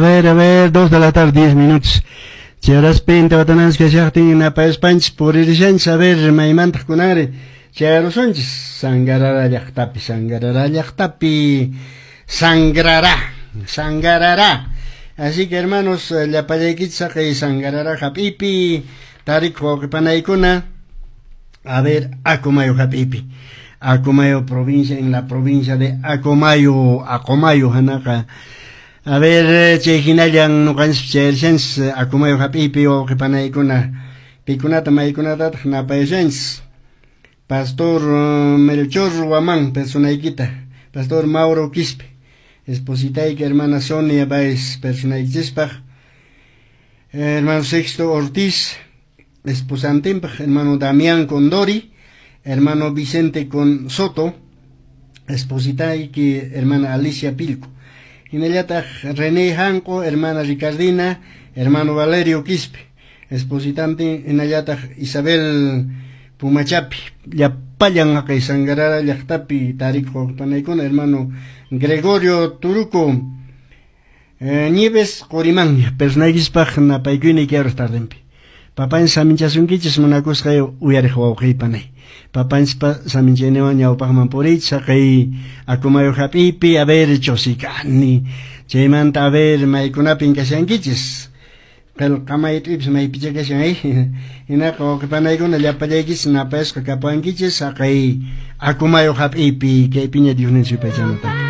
A ver, 2 de la tarde, 10 minutos. Chay horaspi intiwatananchis kashaqtin napayaspanchis puririshanchis, a ver, maymantaq kunanri chayarusunchis Sangarara llaqtapi, Sangarara llaqtapi, Sangrará, Sangarará. Así que, hermanos, llapallaykichis saqay Sangarara hap'ipi tarikuq wawqipanaykuna, a ver, Acomayo hap'ipi. Acomayo provincia, en la provincia de Acomayo, Acomayo hanaqa. A ver, chay hinallan ñuqanchis chayashanchis Acomayo hap'ipi wawqipanaykuna, pikunata maykunatataq napayashanchis. Pastor Melchor Guamán, personaykita, Pastor Mauro Quispe, espositayki hermana Sonia Baez, personaykichispaq, hermano Sexto Ortiz, esposantinpaq, hermano Damián Condori, hermano Vicente Con Soto, espositayki hermana Alicia Pilco. Hinallataq René Janco, hermana Ricardina, hermano Valerio Quispe, espositante, hinallataq Isabel Pumachapi, llapallan haqay Sangarara llaqtapi tarikuq panaykuna, hermano Gregorio Turuco, Nieves Qorimanya, personaykispaq napaykuyni kay tardenpi. Papanchis saminchasunkichis munakusqay uyariq wawqiypanay. Papanchispa saminchayniwan ñawpaqman puriychis haqay Acomayo hap'ipi, a ver, Chosicani, chaymanta a ver maykunapin kashankichis. Qillqamayt'ipis maypicha kashan ay. Hinaqa wawqipanaykuna llapallaykichis napayasqa kapuwankichis haqay Acomayo hap'ipi kaypiña Diosninchis yupaychanata.